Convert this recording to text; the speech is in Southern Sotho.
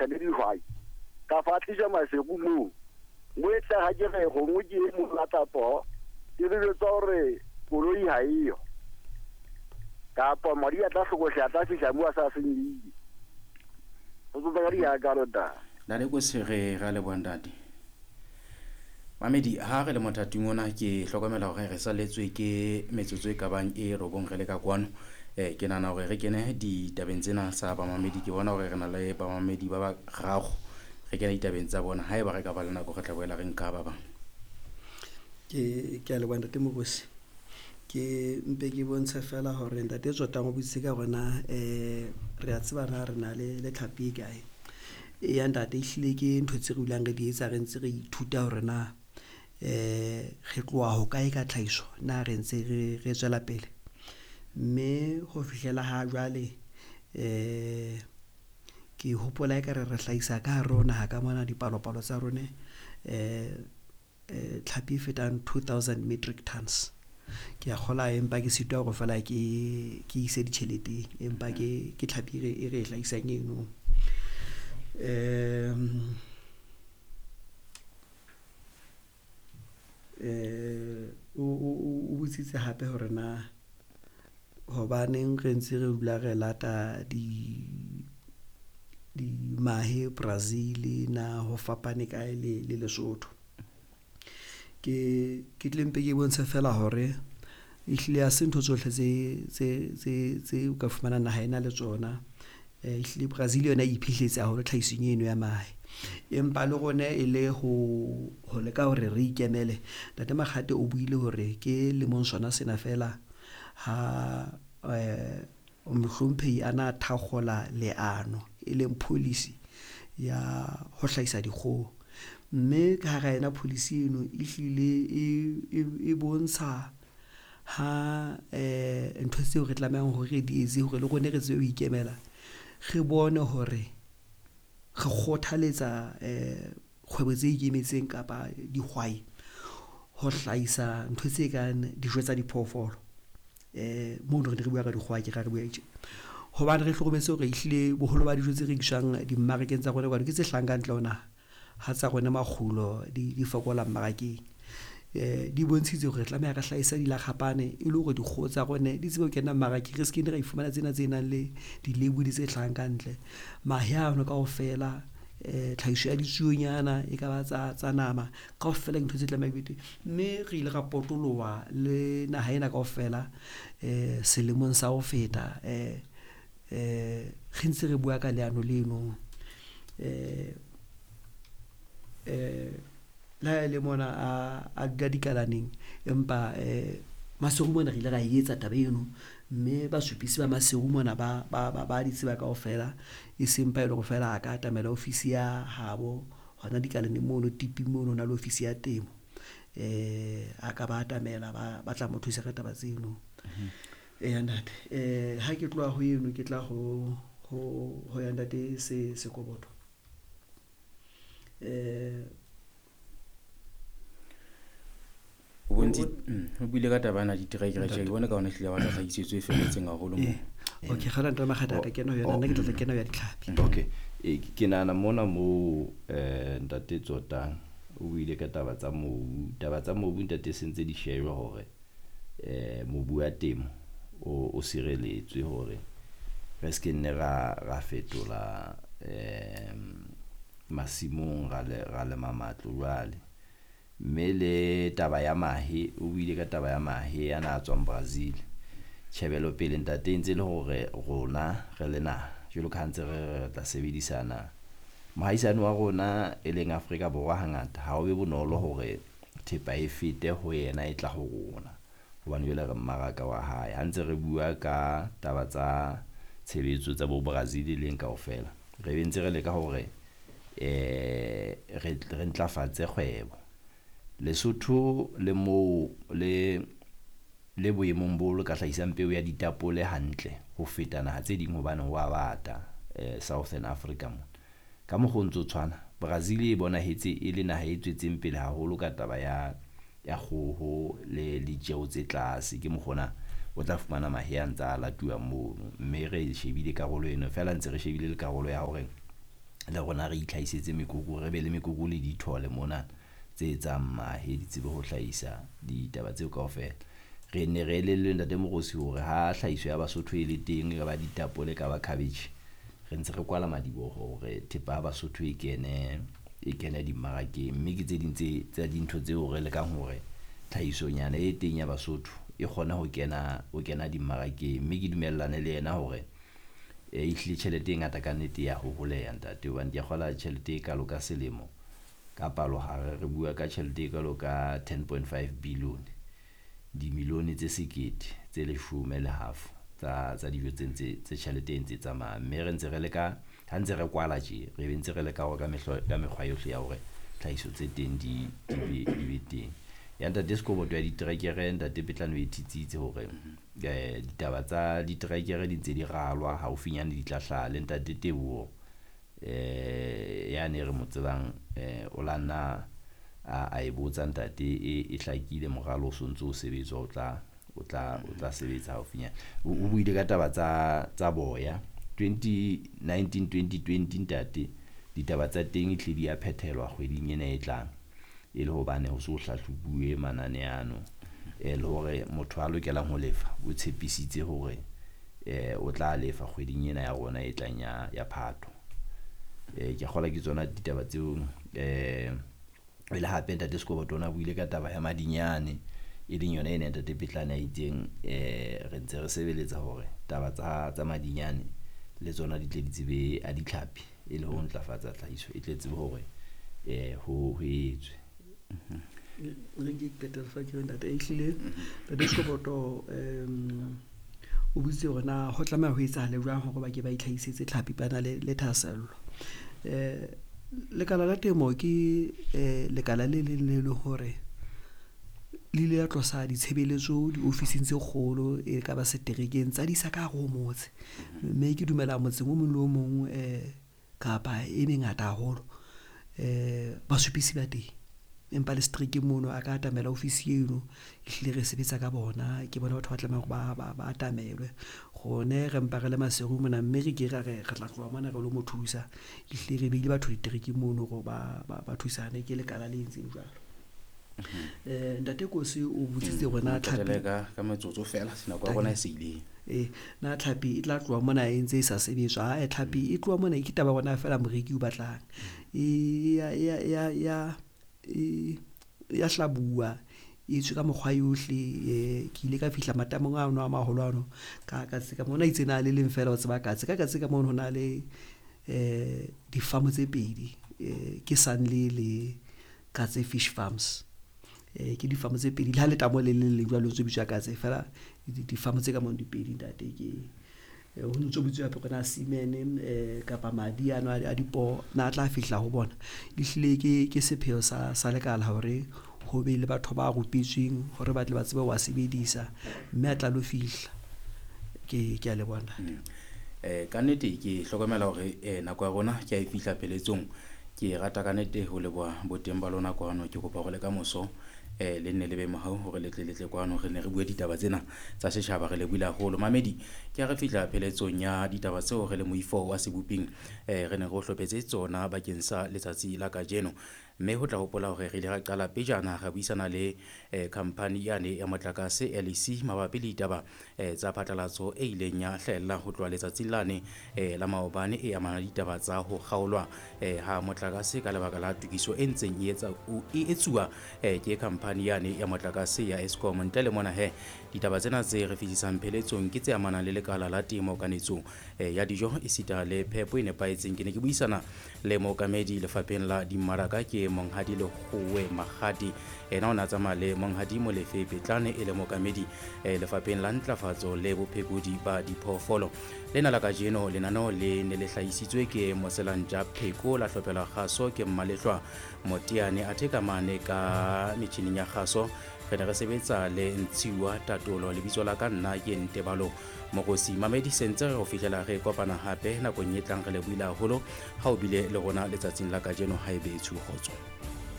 dingaka le dihwai ka fa tlisa maseku moo mo e tla ga ke re gongwe ke e mo lata poo ke re jwetsa gore koloi ha eyo kapa madi a tla hlokohle a tla fihla mo a sa senyehile go tsotsa ka diakalo ta. Ntate ko sege ra leboha ntate. Mamedi ha re le mothating ona ke hlokomela hore re saletswe ke metsotso e kabang e robong re le ka kwano. Ke nahana hore re kene ditabeng tsena tsa bamamedi. Ke bona hore re na le bamamedi ba bararo. Re kene ditabeng tsa bona. Haeba re ka ba le nako re tla boela re nka ba bang. Ke a leboha ntate Mokosi. Ke mpe ke bontshe fela hore ntate Tsotang o botsitse ka hore na re a tseba na re na le tlhapi e kae. Eya ntate ehlile ke ntho tse re dulang re di etsa re ntse re ithuta hore na re tloha hokae ka tlhahiso, na re ntse re tswela pele. Mme ho fihlela ha jwale ke hopola ekare re hlahisa ka hare ho naha ka mona dipalopalo tsa rone tlhapi e fetang 2000 metric tons. Ke a kgola empa ke sitwa hore feela ke ise ditjheleteng, empa ke tlhapi e re e hlahisang eno. O botsitse hape hore na hobaneng re ntse re dula re lata di mahe Brazil na ho fapane kae le Lesotho. Ke tle mpe ke bontshe fela hore ehlile ha se ntho tsohle tse o ka fumanang naha ena le tsona. Ehlile Brazil yona e iphihletse haholo tlhahisong eno ya mahe. Empa le rona e le ho leka hore re ikemele. Ntate Makgate o buile hore ke lemong sona sena fela ha mohlomphehi a na thakgola leano e leng policy ya ho hlahisa dikgoho. Mme ka hara yona policy eno ehlile e bontsha ha ntho tseo re tlamehang hore re di etse hore le rona re tsebe ho ikemela. Re bone hore re kgothaletsa kgwebo tse ikemetseng kapa dihwai ho hlahisa ntho tse kang dijo tsa diphoofolo. Mono re ne re bua ka dikgoho, ke ra re bua tje. Hobane re hlokometse hore ehlile boholo ba dijo tse rekiswang dimmarakeng tsa rona kwano ke tse hlahang ka ntle ho naha. Ha tsa rona makgulo di fokola mmarakeng. Di bontshitse hore re tlameha re hlahise dilakgapane e le hore dikgoho tsa rona di tsebe ho kena mmarakeng, re se ke ra ifumana tsena tse nang le di-label tse hlahang ka ntle. Mahe ano kaofela, tlhahiso ya ditsuonyana e ka ba tsa nama kaofela ke ntho tse tlameha di be teng. Mme re ile ra potoloha le naha ena kaofela selemong sa ho feta re ntse re bua ka leano leno. Le ha e le mona a dula dikalaneng, empa Maseru mona re ile ra e etsa taba eno, mme basupisi ba Maseru mona ba di tseba kaofela. E seng pa e le hore feela a ka atamela ofisi ya habo hona dikalaneng mono tiping mono ho na le ofisi ya temo. A ka ba atamela ba tla mo thusa ka taba tseno. Eya ntate, ha ke tloha ho eno ke tla ho ya ntate Sekoboto. O o buile ka taba ena diterekere tje, ke bona ka hona ehlile ba tla tlhakisetso e felletseng haholo moo. Okay, kgala ntate Makgata ka kena ho yona, nna ke tla kena ho ya ditlhapi. Okay. Ke nahana mona moo ntate Tsotang o buile ka taba tsa mobu. Taba tsa mobu ntate se ntse di shejwa hore mobu wa temo o sireletswe hore re se ke nne ra fetola masimong ra lema matlo jwale. Mme le taba ya mahe, o buile ka taba ya mahe a na tswang Brazil. Tjhebelopele ntate e ntse le hore rona re le naha jwalo ka ha ntse re tla sebedisana. Mohaisane wa rona e leng Afrika Borwa hangata ha o be bonolo hore thepa e fete ho yena e tla ho rona hobane jwale re mmaraka wa hae. Ha ntse re bua ka taba tsa tshebetso tsa bo Brazil leng kaofela, re be ntse re leka hore re ntlafatse kgwebo. Lesotho le moo le boemong bo le ka hlahisang peo ya ditapole hantle ho feta naha tse ding hobane ho a bata Southern Africa mona. Ka mokgwa o ntso tshwana, Brazil e bonahetse e le naha e tswetseng pele haholo ka taba ya kgoho le ditjeho tse tlase. Ke mokgwa ona o tla fumana mahe a ntsa latuwa mono. Mme re shebile karolo eno feela ntse re shebile le karolo ya hore Le rona re itlhahisetse mekoko, re be le mekoko le dithole mona tse etsang mahe, di tsebe ho hlahisa ditaba tseo kaofela. Re ne re elellwe ntate Moorosi hore ha tlhahiso ya Basotho e le teng, e ka ba ditapole, e ka ba cabbage, re ntse re kwala madiboho hore thepa ya Basotho e kene dimmarakeng. Mme ke tse ding tsa dintho tseo re lekang hore tlhahisonyana e teng ya Basotho e kgone ho kena dimmarakeng. Mme ke dumellane le yena hore ehlile tjhelete e ngata ka nnete ya ho holeha ntate, hobane ke a kgola tjhelete e kalo ka selemo ka palohare re bua ka tjhelete e kalo ka 10.5 billion, dimilione tse 10 tse 10.5 tsa dijo tse ntse tse tjhelete e ntse tsamaya. Mme re ntse re leka, ha ntse re kwala tje, re be ntse re leka hore ka mekgwa yohle ya hore tlhahiso tse teng di be teng. Ya ntate Sekoboto ya diterekere, ntate Petlane o e thitsitse hore ditaba tsa diterekere di ntse di ralwa haufinyane di tla hlaha. Le ntate Teboho ya ne re mo tsebang o la nna a e botsa ntate, e hlakile moralo o sontso o sebetswa, o tla sebetsa haufinyane. O buile ka taba tsa boya 2019 2020 ntate, ditaba tsa teng e tle di a phethelwa kgweding ena e tlang, e le hobane ho so hlahlobuwe manane ano, le hore motho a lokelang ho lefa o tshepisitse hore o tla lefa kgweding ena ya rona e tlang ya Phato. Ke kgola ke tsona ditaba tseo. Le hape ntate Sekoboto ona buile ka taba ya madinyane, e leng yona ena ntate Petlane a itseng re ntse re sebeletsa hore taba tsa madinyane le tsona di tle di tsebe a ditlhapi, e le ho ntlafatsa tlhahiso e tle tsebe hore ho etswe. Re ke qetela fa ke ntate ehlile ntate Sekoboto o butse hore na ho tlameha ho etsahale jwang hore ba ke ba itlhahisetse tlhapi ba na le thahasello. Lekala la temo ke lekala le leng le hore le ile la tlosa ditshebeletso diofising tse kgolo e ka ba seterekeng tsa di isa ka hare ho motse. Mme ke dumela motseng o mong le o mong kapa e mengata haholo basupisi ba teng, empa le seterekeng mono a ka atamela ofisi eno, ehlile re sebetsa ka bona, ke bona batho ba tlamehang hore ba atamelwe. Rone re mpa re le Maseru mona, mme re ke ra re tla tloha mona re lo mo thusa, ehlile re beile batho diterekeng mono hore ba thusane, ke lekala le entseng jwalo. Ntate Kosi o botsitse hore na tlhapi ka metsotso fela nako ya rona e se ile. Na tlhapi e tla tloha mona e ntse e sa sebetswa? Tlhapi e tloha mona ke taba ya rona fela, moreki o batlang ya hlabuwa, e tswe ka mokgwa yohle. Ke ile ka fihla matamong ano a maholo ano ka katse ka mona, itse na le leng fela o tseba katse ka katse ka mono ho na le difamo tse pedi, ke Sunley le Katse Fish Farms. Ke difamo tse pedi, le ha letamo le le leng jwalo ntse bitswa katse fela, difamo tse ka mono di pedi ntate. Ke ho ntso bitswa hape hore na semen kapa madi ano a dipoo na tla fihla ho bona. Ehlile ke sepheo sa lekala hore ho be le batho ba rupetsweng hore ba tle ba tsebe ho a sebedisa, mme a tla lo fihla. Ke a le bona. Ka nnete ke hlokomela hore nako ya rona ke a e fihla pheletsong. Ke rata ka nnete ho leboha boteng ba lona kwano. Ke kopa hore le ka moso le nne le be mohau hore le tle kwano, re ne re bue ditaba tsena tsa setjhaba, re lebohile haholo. Mamedi, ke ha re fihla pheletsong ya ditaba tseo re le moifo wa seboping re ne re o hlophetse tsona bakeng sa letsatsi la kajeno. Mme ho tla hopola hore re ile ra qala pejana ra buisana le khampani yane ya motlakase LEC mabapi le ditaba tsa phatlalatso e ileng ya hlahella ho tloha letsatsing lane la maobane, e amana le ditaba tsa ho kgaolwa ha motlakase ka lebaka la tokiso e ntseng e etsuwa ke khampani yane ya motlakase ya Eskom. Ntle le mona he, ditaba tsena tse re fihlisang pheletsong ke tse amanang le lekala la temo, kanetso ya dijo esita le phepo e nepahetseng. Ke ne ke buisana le mookamedi lefapheng la dimmaraka ke Monghadi Lekgowe Makgati, ena o na tsamaya le Monghadi Molefe Petlane e le mookamedi lefapheng la ntlafatso le bophekodi ba diphoofolo. Lena la kajeno lenaneo le ne le hlahisitswe ke Moselantja Pheko, la hlophelwa kgaso ke Mmalehlwa Moteane, athe ka mane ka metjhining ya kgaso re ne re sebetsa le Ntshiwa Tatolo. Lebitso la ka nna ke Ntebalo Mokosi. Mamedi, sentse re ho fihlela re kopana hape nakong e tlang. Re lebohile haholo ha o bile le rona letsatsing la kajeno. Ha ebe tshu kgotso.